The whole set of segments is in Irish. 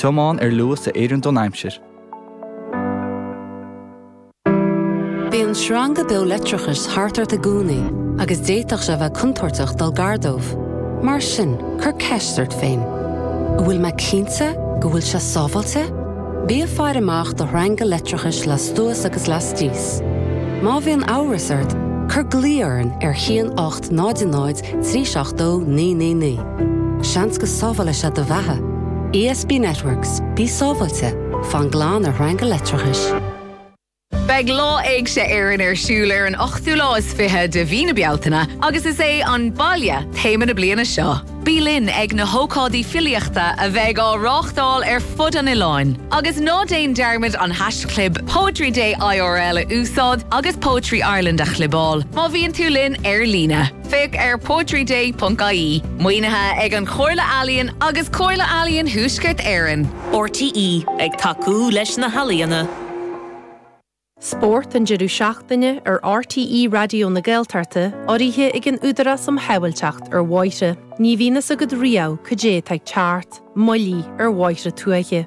Tiomáin ar luas a oireann don aimsir. Bíonn sreanga beo leictreachais thart ort i gcónaí agus d'fhéadfadh sé a bheith contúirteach dul gar dóibh. Mar sin, cuir ceist ort féin, An bhfuil mé cinnte go bhfuil sé sábháilte? Bí ag faire amach do shreanga leictreachais lastuas agus lastíos. Má bhíonn amhras ort, cuir glao orainn ar 1 8 0 0 3 7 2 9 9 9. Seans go sábhálfaidh sé do bheatha. ESB Networks, bí sábháilte, fan glan ar shreanga leictreachais. Beidh Lá Éigse Éireann ar siúl ar an ochtú lá is 20 de mhí na Bealtaine agus is é 'An Baile' téama na bliana seo. Bí linn ag na hócáidí filíochta a bheidh á reáchtáil ar fud an oileáin. Agus ná déan dearmad an haischlib PoetryDayIRL a úsáid agus Poetry Ireland a chlibeáil má bhíonn tú linn ar líne. Féach ar poetryday.ie. Maoinithe ag an Chomhairle Ealaíon agus Comhairle Ealaíon Thuaisceart Éireann. RTÉ, ag tacú leis na healaíona. Spórt an deireadh seachtaine ar RTÉ Raidió na Gaeltachta urraithe ag an Údarás um Shábháilteacht ar Bhóithre. Ní bhíonn fhios agat riamh cad é atá ag teacht, moilligh ar bhóithre tuaithe.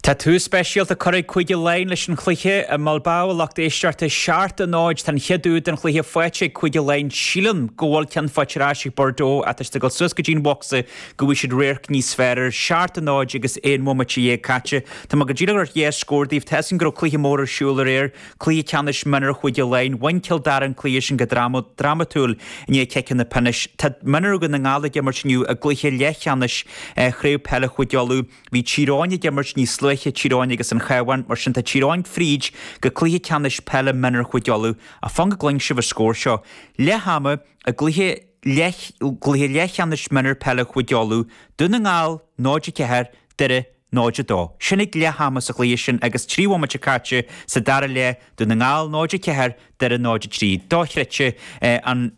Tá tús speisialta curtha ag Cúige Laighean leis an chluiche i mBilbao, a lucht éisteachta. 7, 0 Tá an chéad úd den chluiche faighte ag Cúige Laighean. Sílim go bhfuil ceann faighte ar ais ag Bordeaux ach tá siad ag dul suas go dtí an bhocsa go bhfaighidh siad radharc níos fearr air. 7, 0 agus 11 bhomaite caite. Tá mé go díreach ag tabhairt dhá scór daoibh. Tá fhios agam go raibh cluiche mór ar siúl aréir, cluiche ceannais mionúir Chúige Laighean. Bhain Cill Dara an cluiche sin go drámatúil i ndiaidh ciceanna pionóis. Tá mionúir Dhún na nGall ag imirt inniu i gcluiche leathcheannais Chraobh Peile Chúige Uladh. Bhí Tír Eoghain ag imirt níos luaithe, Tír Eoghain agus an Chabhán, mar sin tá Tír Eoghain fríd go cluiche ceannais peile mionúir Chúige Uladh. Ach fan go gcluinfidh sibh an scór seo. Leath ama i gcluiche leath gcluiche leathcheannais mionúir peile Chúige Uladh, Dún na nGall 0, 4, Doire 0, 2. Sin ag leath ama sa chluiche sin agus 3 bhomaite caite sa dara leath, Dún na nGall 0, 4, Doire 0, 3. Dochreidte an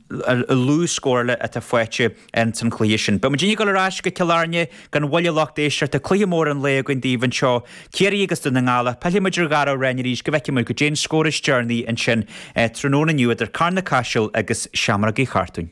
lú scórála atá faighte ins an chluiche sin. Beidh muidinne ag dul ar ais go Cill Airne gan mhoill a lucht éisteachta. Cluiche mór an lae againn daoibh anseo, Ciarraí agus Dún na nGall. Ach pillfidh muid ar Dhara Ó Rainn arís go bhfeicfidh muid goidé an scór is deireanaí ansin tráthnóna inniu idir Carna-Caiseal agus Seamróga Uí Chartúin.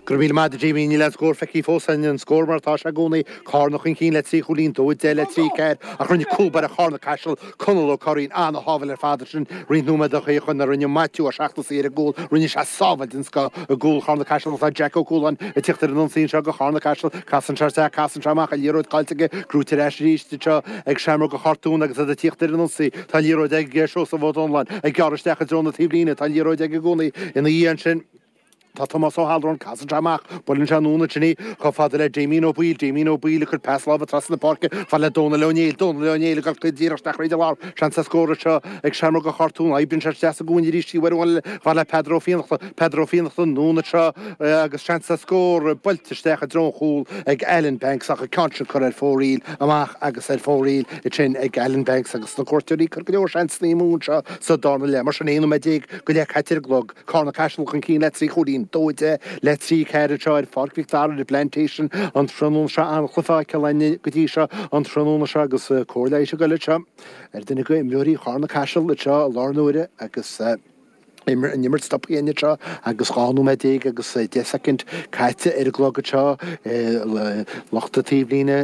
Go raibh míle maith agat a Jamie. Níl aon scór feicthe fós againn. An scór mar atá sé i gcónaí, Cárna chun cinn le 3 chúilín, 2 10 le 3 4, ach rinne cúl báire Chárna Caiseal, Conall Ó Curraoin, an-shábháil ar fad ansin roinnt nóiméad ó shin a rinne Maitiú Ó Seachnasaigh ar an gcúl. Rinne sé sábháil den scoth i gcúl Chárna Caiseal agus tá Jack Ó Cualáin ag tíocht ar an ionsaí anseo do Chárna Caiseal. Casann sé isteach, casann sé amach, an liathróid caillte aige, gnóthaithe ar ais arís anseo ag Seamróga Chartúin agus iad ag tíocht ar an ionsaí. Tá an liathróid ag Seosamh Ó Domhnalláin ag gearradh isteach i dtreo na taobhlíne. Tá an liathróid aige i gcónaí ina dhiaidh ansin. Tá Tomás Ó hAllmhráin, casann sé amach, buaileann sé anonn ansin í, chomh fada le Damien Ó Baoill, Damien Ó Baoill ag cur pas láimhe trasna na páirce, fad le Dónal Ó Néill, Dónal Ó Néill ag dul díreach isteach thríd an lár, seans ar scór anseo ag Seamróga Chartún, oibríonn sé isteach sa gcúinne arís í uair amháin eile, fad le Peadar Ó Fiannachta, Peadar Ó Fiannachta anonn anseo agus seans ar scór buailte isteach i dtreo an chúl ag Alan Banks ach an ceann sin curtha ar fóraoil amach agus ar fóraoil ansin ag Alan Banks agus na cuairteoirí ag cur go leor seansanna amú anseo sa darna leath. Mar sin 11 nóiméad go leith caite ar an gclog. Cárna Caiseal chun cinn le 3 chúilín, 2 10 le 3 4 anseo ar Pháirc Mhic Dara ar an bPlantation an tráthnóna seo. An-chluiche feicthe againn go dtí seo an tráthnóna seo agus cóir leighis ag goil anseo ar duine de imreoirí Chárna Caiseal anseo i láthair na huaire agus an imirt stoptha againn anseo agus 12 nóiméad agus 10 soicind caite ar an gclog anseo. Lucht na taobhlíne,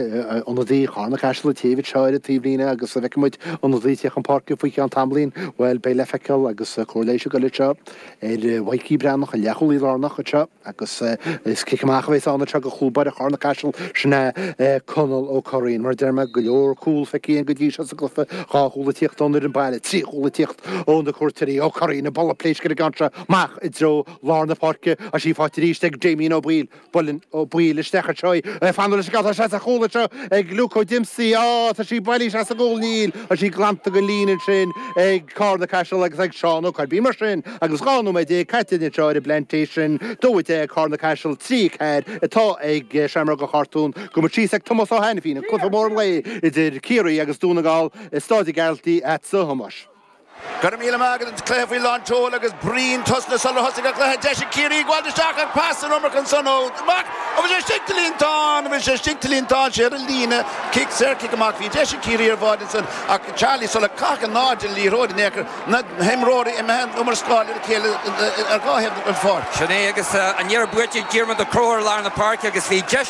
ionadaí Chárna Caiseal ag téamh anseo ar an taobhlíne agus an bhfeicfidh muid ionadaí ag tíocht chun páirce faoi cheann tamaillín, bhuel, beidh le feiceáil agus cóir leighis ag goil anseo ar Mhaidhcí Breathnach, an leathchúlaí lárnach anseo agus is cic amach a bheas ann anseo do chúl báire Chárna Caiseal, sin é Conall Ó Curraoin. Mar a deir mé, go leor cúl feicthe againn go dtí seo sa gcluiche, dhá chúl ag tíocht ón fhoireann baile, trí chúl ag tíocht ó na cuairteoirí. Ó Curraoin ag bualadh pléisc ar an gceann seo amach i dtreo lár na páirce, tá sí faighte arís ag Damien Ó Baoill. Buaileann Ó Baoill isteach anseo í. Fanacht leis an gceann. Tá sé sa chúl anseo ag Luke Ó Diomsaí. Á, tá sí bailithe isteach sa gcúl. Níl. Tá sí glanta den líne ansin ag Cárna Caiseal agus ag Seán Ó Coirbín. Mar sin, agus 12 nóiméad caite anseo ar an bPlantation, 2 10 Cárna Caiseal, 3 4 atá ag Seamróga Chartún. Gabhfaidh muid síos ag Tomás Ó hAiniféin, an cluiche mór an lae idir Ciarraí agus Dún na nGall i Stáid an Ghearaltaigh agatsa a Thomáis. Go raibh míle maith agat, an cluiche faoi lán tseoil agus bruíon tosnaithe sular thosaigh an cluiche. Deis ag Ciarraí gabháil isteach ach pas san iomarca ansan ó Mac. An bhfuil sé istigh sa líontán? An bhfuil sé istigh sa líontán? Sé ar an líne. Cic saor, cic amach. Bhí deis ag Ciarraí ar bháide ansan ach Charlie sular caitheadh in airde an liathróid in aon chor, na himreoirí imithe an iomrascáil ar a chéile ar dhá thaobh den pháirc. Sin é agus an iarraidh buaite ag Diarmuid Ó Conchúir i lár na páirce agus bhí deis.